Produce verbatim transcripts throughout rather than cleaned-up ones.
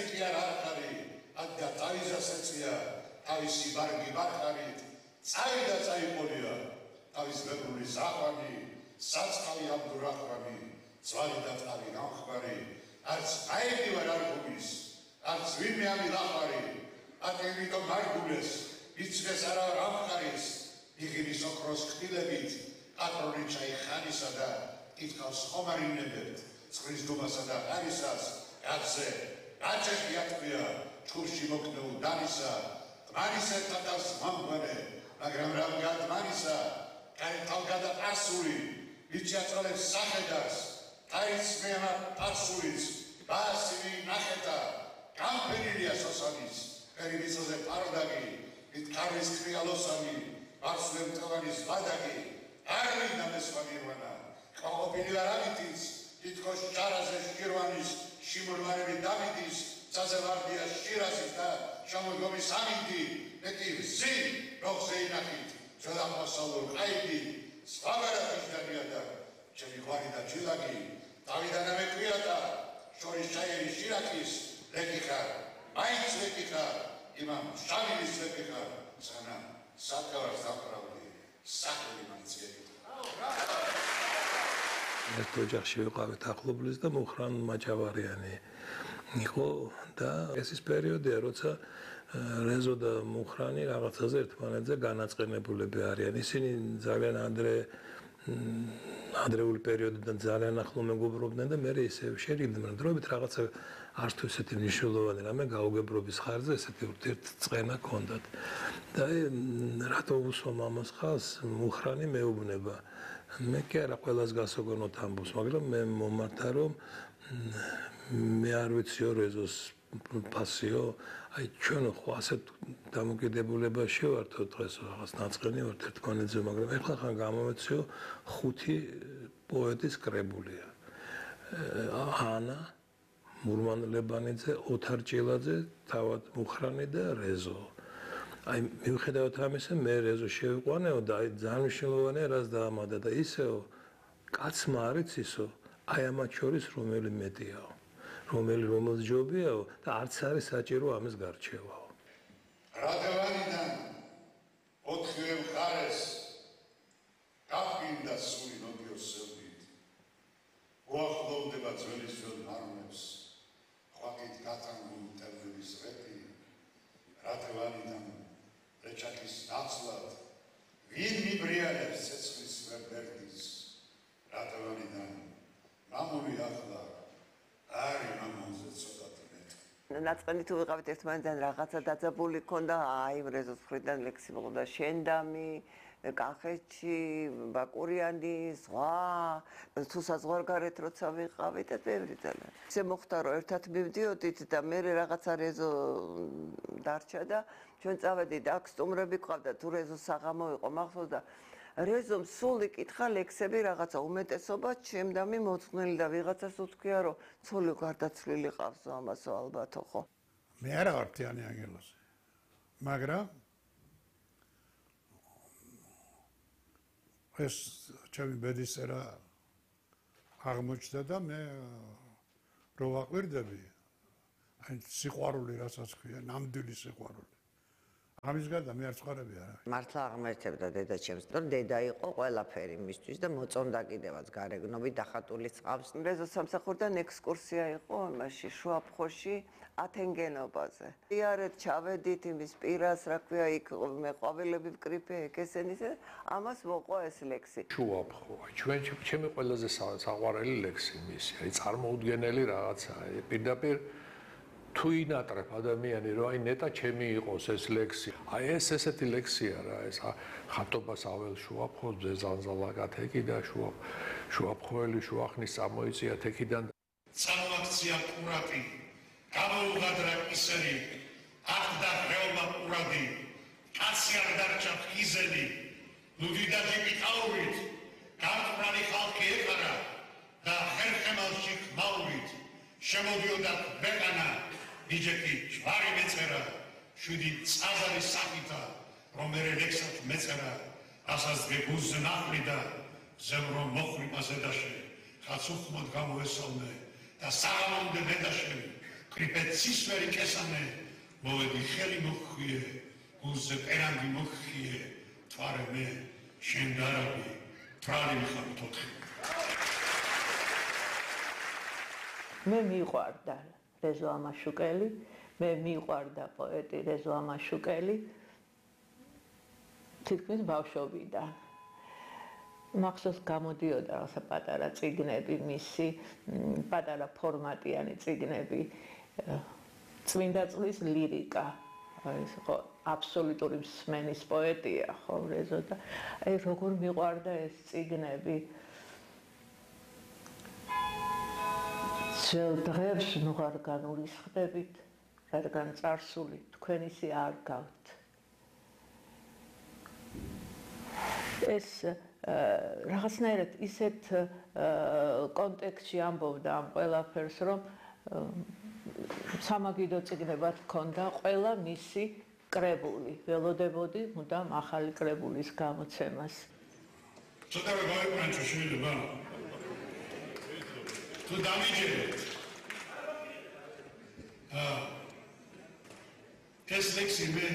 ესეთი კი არ არის, ადა თავისაცეცია, თავისი ბარგი ბახარით, წავიდა წაიყოლია, თავის ბებრული ზაყვანი, საწყალი აბდურახვანი, ძვალი და წყალი გამხმარი, არც აიდი ვარ არგულის, არც ვინმე ამილახარი, ატენიტო მარგულეს, იცდეს არა რამხარის, იღირის ოქროს ხტილებით, პატრონი ჩაიხანისა და ტიტყავს ხომარინებებთ, წყლის დუმასა და ხარისას, კაცზე, გაჭეხი ატყვია, ჩხურში მოკნეულ დანისა, ყმარისა თათავს მომგვარე, მაგრამ რამ გადმარისა, კაითალგადა პასული, ვიჩი აწოლებს სახედას, აიც მეამა პასულიც, ბასივი ნახეთა, გამფენილია სოსანის, პერიბიცოზე პარდაგი, ვიტკარის ქრიალოსანი, ბარსლემ ტოვანის ვადაგი, არვიდა მესვაგირვანა, ყოყობილი ლარავითიც, თითქოს ჭარაზე შირვანის, შიმურვარები დავიდის, საზევარდია შირაზის და შემოდგომის ამინდი, მეტი ვზი, როხზე ინახით, ჩვედამოსალურ ყაიდი, სხვაგარაფის დაგია და ჩემი ხვარი და ჩილაკი, დავიდანა მეკვია და შორის ჩაიერი შირაკის, ლეკი ხარ, მაინც ლეკი ხარ, იმამ შავილის ლეკი ხარ, სანამ სათქავარს დაფრავდი, სახელი მაინც ლეკი ხარ. ერთ ოჯახში ვიყავით ახლობლის და მუხრან მაჭავარიანი იყო და ეს ის პერიოდია, როცა რეზო და მუხრანი რაღაცაზე ერთმანეთზე განაწყენებულები არიან. ისინი ძალიან ადრე ადრეული პერიოდიდან ძალიან ახლო მეგობრობდნენ და მე ისე შერიგდნენ დროებით რაღაცა არც თუ ესეთი მნიშვნელოვანი რამე გაუგებრობის ხარჯზე ესეთი ურთიერთწყენა ჰქონდათ. და რატო უსვამ ამას ხალხს მუხრანი მეუბნება. მე კი არა ყველას გასაგონოთ ამბობს, მაგრამ მე მომართა რომ მე არ ვიციო რეზოს პასიო, აი ჩვენ ხო ასეთ დამოკიდებულებაში ვართ დღეს რაღაც ნაწყენი ვართ ერთმანეთზე, მაგრამ ეხლა ხან გამომეციო ხუთი პოეტის კრებულია. ანა, მურმან ლებანიძე, ოთარ ჭილაძე, თავად მუხრანი და რეზო. აი მიუხედავად ამისა, მე რეზო შევიყვანეო და აი ძალიან მნიშვნელოვანია რას დაამატა და ისეო კაცმა არ იცისო, აი ამათ შორის რომელი მეტიაო. რომელი რომელს ჯობიაო და არც არის საჭირო ამის გარჩევაო. რადევანიდან ოთხივე მხარეს გაფრინდა სული ნოდიოს სევდით. უახლოვდება ძველი ძველ მარნებს, ხვაკით გატანგულ მტევნების რეპი, რადევანიდან რეჩაკის ნაცვლად, ვინ მიბრიალებს ცეცხლის ვერბერდის, რადევანიდან მამული ახლა არი მამონზე ცოტათი მეტი. ნაწყენი თუ ვიყავით ერთმანეთთან რაღაცა დაძაბული ქონდა, აი რეზოს მხრიდან ლექსი მოყდა შენდამი, კახეთში, ბაკურიანი, ზღვა, თუ საზღვარგარეთ როცა ვიყავით და ბევრი ძალიან. ისე მოხდა რომ ერთად მივდიოდით და მე რაღაცა რეზო დარჩა და ჩვენ წავედით აქ სტუმრები ყავდა თუ რეზო საღამო იყო მახსოვს და რეზომ სულ იკითხა ლექსები რაღაცა უმეტესობა ჩემდამი მოწვნილი და ვიღაცას უთქვია რომ ცოლი გარდაცვლილი ყავსო ამასო ალბათო ხო მე არა ვარ თიანი ანგელოზი მაგრამ ეს ჩემი ბედისწერა აღმოჩნდა და მე რო ვაყვირდები აი სიყვარული რასაც ქვია ნამდვილი სიყვარული ამის გარდა მე არ ცხოვრები არა. მართლა აღმერთებდა დედა ჩემს, რომ დედა იყო ყველაფერი მისთვის და მოწონდა კიდევაც გარეგნობით დახატული წყავს. რეზო სამსახურიდან ექსკურსია იყო იმაში შუაფხოში ათენგენობაზე. იარეთ ჩავედით იმის პირას, რა ქვია, იქ მე ყვავილები ვკრიფე ეკესენის და ამას მოყვა ეს ლექსი. შუაფხო, ჩვენ ჩემი ყველაზე საყვარელი ლექსი მისი, აი წარმოუდგენელი რაღაცაა. პირდაპირ თუ ინატრებ ადამიანი რომ აი ნეტა ჩემი იყოს ეს ლექსი. აი ეს ესეთი ლექსია რა, ეს ხატობას აվել შუაფხოზე ზანზალაგათ ეკიდა შუა შუაფხოელი შუახნის წამოიწია თეკიდან. წამოაქცია ყურატი, გამოუღადრა ისერი, ახდა ღრეობა ყურადი, კაცი არ დარჩა ხიზელი, ლუდი და ჯიპიტაურით, გამყრალი ხალხი ეყარა და ხერხემალში ხმაურით, შემოდიოდა ქვეყანა ნიჯეთი ჯვარი მეწერა, შვიდი წაზარი სახითა, რომ ერე ლექსად მეწერა, ასას გეგუზ ნახლი და ზემრო მოხვრიპა ზედაში, ხაც უხმოდ გამოესალმე და საღამომდე დედაში, კრიპეცის ვერი კესამე მოვედი ხელი მოხიე გულზე პერანგი მოხიე თვარე მე შენ დარაბი თვალი მხარ თოთხი მე მიყვარდა რეზო ამაშუკელი მე მიყვარდა პოეტი რეზო ამაშუკელი თითქმის ბავშვობიდან მახსოვს გამოდიოდა რაღაცა პატარა წიგნები მისი პატარა ფორმატიანი წიგნები წმინდა წყლის ლირიკა ეს ხო აბსოლუტური მსმენის პოეტია ხო რეზო და აი როგორ მიყვარდა ეს წიგნები ძველ დღეებს ნუ არ განულისხდებით რადგან წარსული თქვენ ისი არ გავთ ეს რაღაცნაირად ისეთ კონტექსტში ამბობდა ამ ყველაფერს რომ სამაგიდო წიგნებად ჰქონდა ყველა მისი კრებული ველოდებოდი მუდამ ახალი კრებულის გამოცემას ცოტა გავიყვანჩო შეიძლება თუ დამიჯერეთ აა ეს ლექსი მე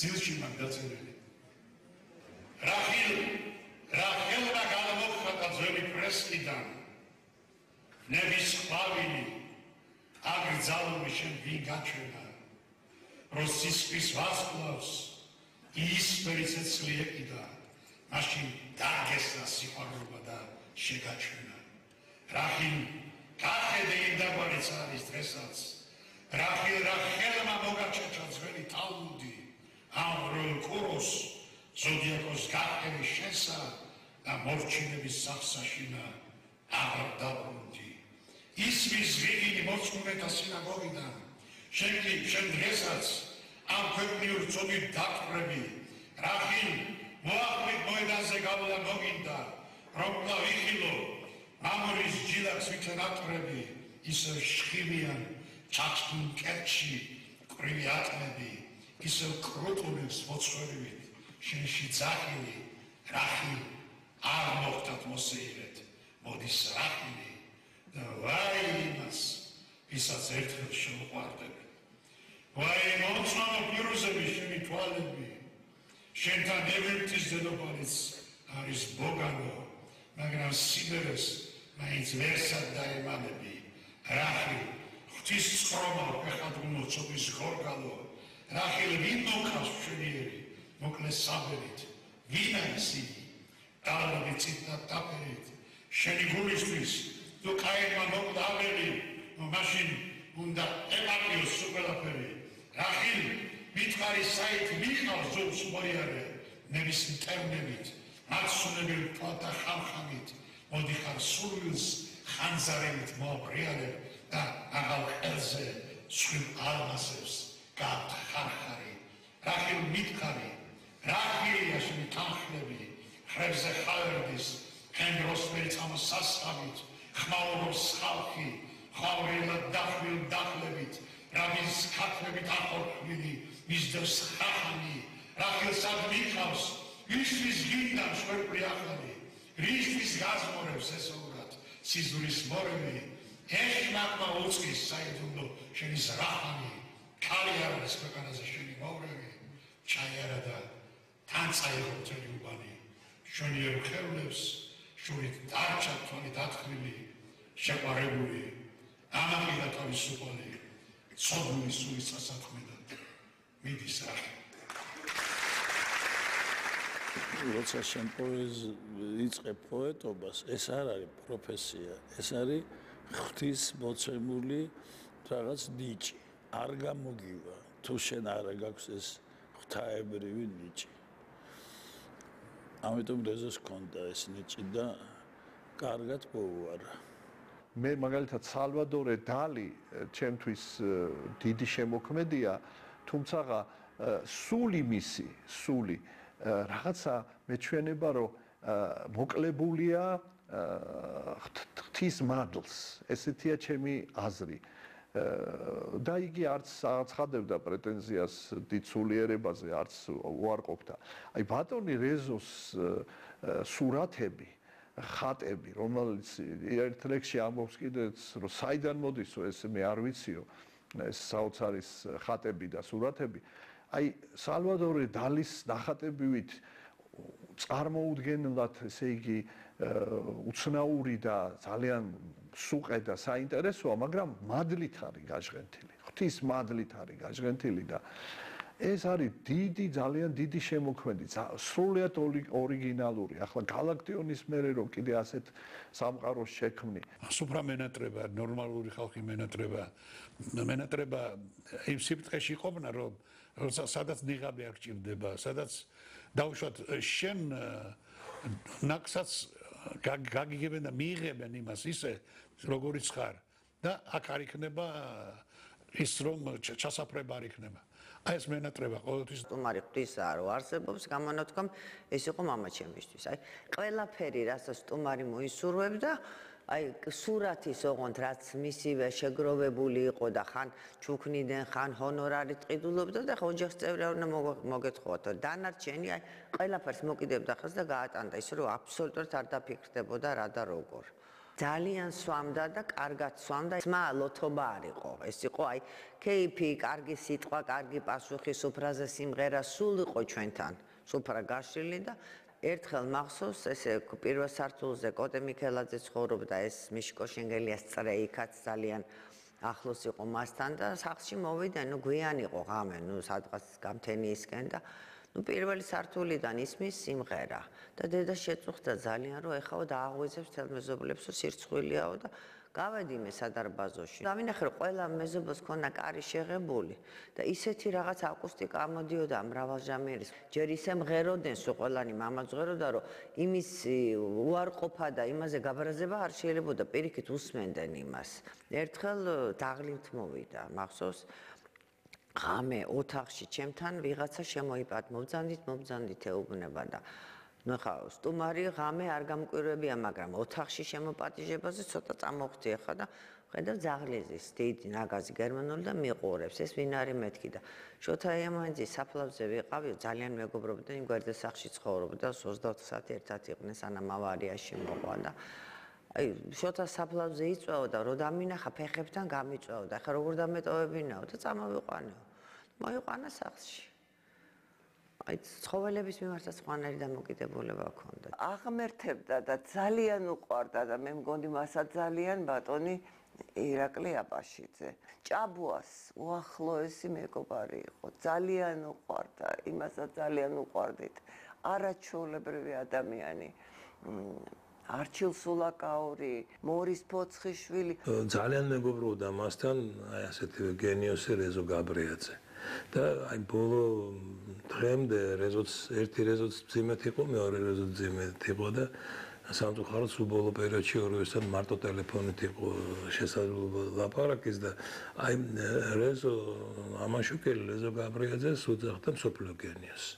ძილში მაგ დაწერილი რახილ რახილმა გამოხატა ძველი პრესკიდან ნების ყვავილი აგრძალული შენ ვინ გაჩვენა როსისყრის ვარსკვლავს იისფერი ცეცხლი ეკიდა მაშინ დაგესა სიყვარულობა და შეგაჩვენა რახილ გახედე იმ დაბალიც არის დღესაც რახილ რახელმა მოგაჩეჩა ძველი თალმუდი ამ როლ კუროს ზოდიაკოს გაყევი შესა და მორჩინების სახსაშინა აღარ დაბრუნდი ისმის ვიგინი მოწმუნეთა სინაგოგიდან შენ კი შენ დღესაც ამ ქვეყნიურ წოდით დაკვრები რახილ მოახმით მოედანზე გავლა მოგინდა რომ ვიხილო მამურის ჯილაკს ვითენ აკვრები ისევ შხივიან ჩაჭდუნ კერჩი ყრივი ატმები ისევ კრუტულებს მოცხვერივით შენში ძახილი რახილ არ მოხდათ მოსეირეთ მოდის რახილი და ვაი იმას ვისაც ერთხელ შემოყვარდები ვაი მომწვანო პირუზები შენი თვალები შენთან ევრიპტის დედოფალიც არის ბოგანო მაგრამ სიბერეს მაინც ვერსად დაემალები რახილ ღვთის წყრომა ფეხადღუნო ცობის გორგალო რახილ ვინ მოკავს მშვენიერი მოკლეს საბერით ვინ არის იგი დალავი ციტა დაფერით შენი გულისთვის თუ კაერმა მოკდაველი მაშინ უნდა ემატიოს სუპელაფერი რახილ მითხარი საით მიყავს ზობს მოიარე ნების მტერნებით მაცუნებელი თვალთა ხამხამით მოდიხარ სურვილს ხანძარებით მოაბრიალებ და აღარ ყელზე სულ ალმასებს გათხარხარი რახილ მითხარი რახილია შენი თანხლები ხრებზე ხალერდის ქენდროსფერი წამოსასხამით ხმაურობს ხალხი ხავრილად დახვილ დახლებით რაბის ქათმებით ახორქმილი მისდევს ხახანი რახილსად მიყავს ისთვის გინდა შვერპლი ახალი რისთვის გაზმორებს ესეურად სიზურის მორევი ეშმაკმა უწყის საიდუმლო შენი ზრახანი ქალი არის ქვეყანაზე შენი მოვრევი ჩაიარა და თან წაიღო მთელი უბანი შვენიერ ხევლებს შურით დარჩა თვალი დათხრილი შეყვარებული ამაყიდა თავისუფალი ცოდნი სულის სასათქმედად მიდის რახი როცა შენ იწყებ პოეტობას ეს არ არის პროფესია ეს არის ღვთის მოცემული რაღაც ნიჭი არ გამოგივა თუ შენ არ გაქვს ეს ღვთაებრივი ნიჭი ამიტომ რეზოს ჰქონდა ეს ნიჭი და კარგად მოუარა მე მაგალითად სალვადორე დალი ჩემთვის დიდი შემოქმედია თუმცა სული მისი სული რაღაცა მეჩვენება რომ მოკლებულია ღვთის მადლს ესეთია ჩემი აზრი და იგი არც აცხადებდა პრეტენზიას დიცულიერებაზე არც უარყოფდა აი ბატონი რეზოს სურათები ხატები რომელიც ერთ ლექსში ამბობს კიდეც რომ საიდან მოდისო ეს მე არ ვიციო ეს საოცარის ხატები და სურათები. აი სალვადორი დალის ნახატებივით წარმოუდგენლად, ესე იგი, უცნაური და ძალიან სუყე და საინტერესოა, მაგრამ მადლით არის გაჟღენთილი. ღვთის მადლით არის გაჟღენთილი და ეს არის დიდი, ძალიან დიდი შემოქმედი, სრულიად ორიგინალური. ახლა გალაქტიონის მერე რომ კიდე ასეთ სამყაროს შექმნი. სუფრა მენატრება, ნორმალური ხალხი მენატრება, მენატრება იმ სიფრთხეში ყოფნა, რომ სადაც ნიღაბი არ გჭირდება, სადაც დაუშვათ შენ ნაკსაც გაგიგებენ და მიიღებენ იმას ისე, როგორიც ხარ და აქ არ იქნება ის რომ ჩასაფრება არ იქნება. აი ეს მენატრება ყოველთვის სტუმარი ღვთისაა რომ არსებობს გამონათქომ ეს იყო მამაჩემისთვის. აი ყველაფერი რასაც სტუმარი მოისურვებდა, აი სურათის ოღონდ რაც მისივე შეგროვებული იყო და ხან ჩუქნიდან ხან ჰონორარით ყიდულობდა და ხო ოჯახის წევრი არ უნდა მოგეთხოვოთ. დანარჩენი აი ყველაფერს მოკიდებდა ხელს და გაატანდა ისე რომ აბსოლუტურად არ დაფიქრდებოდა რა და როგორ. ძალიან სვამდა და კარგად სვამდა. სმა ლოთობა არ იყო. ეს იყო აი კეიფი, კარგი სიტყვა, კარგი პასუხი, სუფრაზე სიმღერა, სულ იყო ჩვენთან. სუფრა გაშლილი და ერთხელ მახსოვს, ესე პირველ სართულზე კოტე მიქელაძე ცხოვრობდა, ეს მიშკო შენგელიას წრე იქაც ძალიან ახლოს იყო მასთან და სახლში მოვიდა, ნუ გვიანი იყო ღამე, ნუ სადღაც გამთენიისკენ და ნუ პირველი სართულიდან ისმის სიმღერა და დედა შეწუხდა ძალიან რომ ეხაო დააღვიძებს თელ მეზობლებს რომ სირცხვილიაო და გავედი მე სადარბაზოში. დავინახე რომ ყველა მეზობელს ქონა კარი შეღებული და ისეთი რაღაც აკუსტიკა ამოდიოდა მრავალჟამიერის. ჯერ ისე მღეროდნენ სულ ყველანი მამაც მღეროდა რომ იმის უარყოფა და იმაზე გაბრაზება არ შეიძლებოდა, პირიქით უსმენდნენ იმას. ერთხელ დაღლით მოვიდა, მახსოვს ღამე ოთახში ჩემთან ვიღაცა შემოიპატ მობძანდით მობძანდით ეუბნება და ნუ ხა სტუმარი ღამე არ გამკვირვებია, მაგრამ ოთახში შემოპატიჟებაზე ცოტა წამოხვდი ახლა და ხედავ ძაღლიზის დიდი ნაგაზი გერმანული და მიყურებს. ეს ვინ არის მეთქი და შოთა იამანძის საფლავზე ვიყავი, ძალიან მეგობრობდა, იმ გვერდესახში ცხოვრობდა, ოცდაოთხ საათი ერთად იყვნენ სანამ ავარიაში მოყვა და აი შოთა საფლავზე იწვეო და რო დამინახა ფეხებთან გამიწვეო და ახლა როგორ დამეტოვებინაო და წამოვიყვანეო. მოიყვანა სახლში. აი ცხოველების მიმართაც ხვანარი დამოკიდებულება ჰქონდა. აღმერთებდა და ძალიან უყვარდა და მე მგონი მასაც ძალიან ბატონი ირაკლი აბაშიძე. ჭაბუას უახლოესი მეგობარი იყო. ძალიან უყვარდა, იმასაც ძალიან უყვარდით. არაჩვეულებრივი ადამიანი. არჩილ სულაკაური, მორის ფოცხიშვილი. ძალიან მეგობრობდა მასთან, აი ასეთი გენიოსი რეზო გაბრიაძე. და აი ბოლო დღემდე რეზოც ერთი რეზოც ძიმეთ იყო, მეორე რეზოც ძიმეთ იყო და სამწუხაროდ სულ ბოლო პერიოდში ორივესთან მარტო ტელეფონით იყო შესაძლებლობა ლაპარაკის და აი რეზო ამაშუკელი რეზო გაბრიაძეს უძახდა მსოფლიო გენიოსს.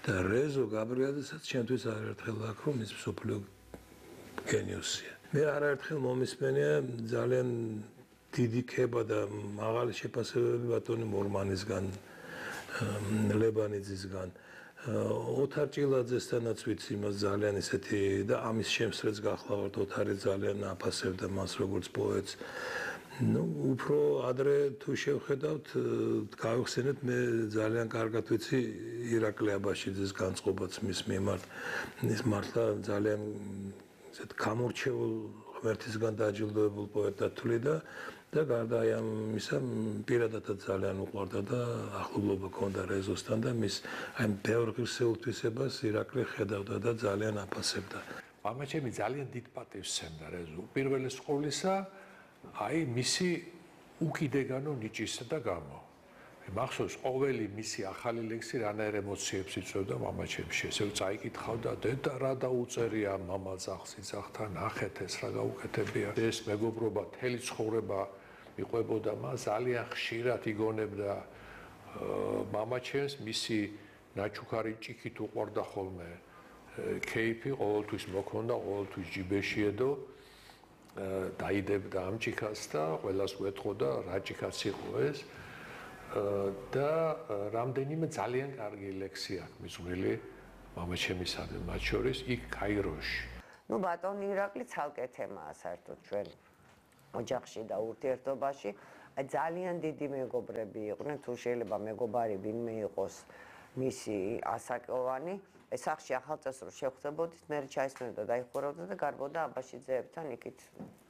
და რეზო გაბრიაძესაც ჩემთვის არაერთხელ აქ რომ ის მსოფლიო გენიოსია. მე არაერთხელ მომისმენია ძალიან დიდი ქება და მაღალი შეფასებები ბატონი მორმანისგან, ლებანიძისგან, ოთარ ჭილაძესთანაც ვიცი იმას ძალიან ისეთი და ამის შემსრეც გახლავართ, ოთარი ძალიან აფასებდა მას როგორც პოეტს. ნუ უფრო ადრე თუ შევხედავთ, გავიხსენეთ, მე ძალიან კარგად ვიცი ირაკლი აბაშიძის განწყობაც მის მიმართ. ის მართლა ძალიან ესეთ გამორჩეულ ღმერთისგან დაჯილდოებულ პოეტად თვლიდა და გარდა აი ამისა პირადადაც ძალიან უყვარდა და ახლობლობა ჰქონდა რეზოსთან და მის აი ბევრ ღირსეულ თვისებას ირაკლი ხედავდა და ძალიან აფასებდა. მამაჩემი ძალიან დიდ პატივს სცემდა რეზო. პირველი სკოლისა აი მისი უკიდეგანო ნიჭისა და გამო. მახსოვს ყოველი მისი ახალი ლექსი რანაირ ემოციებს იწვევდა მამაჩემში. ესე წაიკითხავდა დედა რა დაუწერია მამა ძაღლს იძახთან, ნახეთ ეს რა გაუკეთებია. ეს მეგობრობა თელი ცხოვრება მიყვებოდა მას, ძალიან ხშირად იგონებდა მამაჩემს, მისი ნაჩუქარი ჭიქით უყვარდა ხოლმე. კეიფი ყოველთვის მოქონდა, ყოველთვის ჯიბეში ედო. დაიდებდა ამ ჭიქას და ყველას უეთხოვდა რა ჭიქაც იყო ეს. და რამდენიმე ძალიან კარგი ლექსი აქვს მისვლილი მამაჩემისადმი, მათ შორის იქ კაიროში. ნუ ბატონი ირაკლი ცალკე თემაა საერთოდ ჩვენ ოჯახში და ურთიერთობაში. აი ძალიან დიდი მეგობრები იყვნენ, თუ შეიძლება მეგობარი ვინმე იყოს მისი ასაკოვანი, ეს სახში ახალწესროს შეხვდებოდით, მე ჩაისმენდა და დაიხურავდა და გარბოდა აბაშიძეებთან იქით.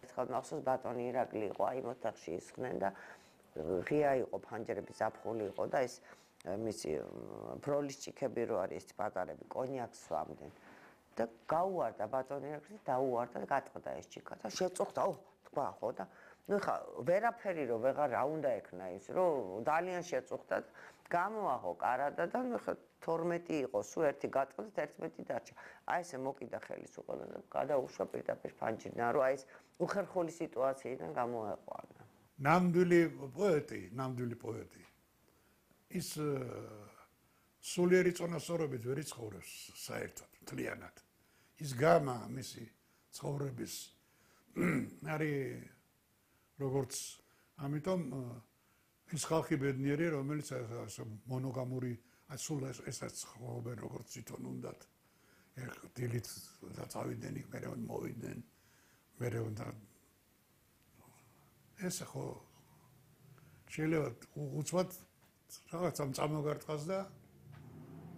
ერთხელ მახსოვს ბატონი ირაკლი იყო, აი ოთახში ისხდნენ და ღია იყო ფანჯრები, ზაფხული იყო და ეს მისი ბროლის ჭიქები რო არის ეს პატარები კონიაკს სვამდნენ. და გაუვარდა ბატონი ირაკლი, დაუვარდა და გატყდა ეს ჭიქა და შეწუხდა, ო, თქვა ხო და ნუ ხა ვერაფერი რო ვეღარ რა უნდა ექნა ის რო ძალიან შეწუხდა და გამოაღო კარადა და ნუ ხა თორმეტი იყო სულ ერთი გატყდა და ერთმეტი დარჩა. აი ესე მოკიდა ხელის უყოლა და გადაუშვა პირდაპირ ფანჯრიდან რომ აი ეს უხერხული სიტუაციიდან გამოეყვანა. ნამდვილი პოეტი, ნამდვილი პოეტი. ის სულიერი წონასწორობით ვერ იცხოვრებს საერთოდ, მთლიანად. ის გამა მისი ცხოვრების არის როგორც ამიტომ ის ხალხი ბედნიერი, რომელიც მონოგამური სულ ესაც ცხოვრობენ როგორც თვითონ უნდათ. დილით და წავიდნენ იქ, მერე მოვიდნენ, მერე უნდა ეს ხო შეიძლება უცბად რაღაცა წამოგარტყას და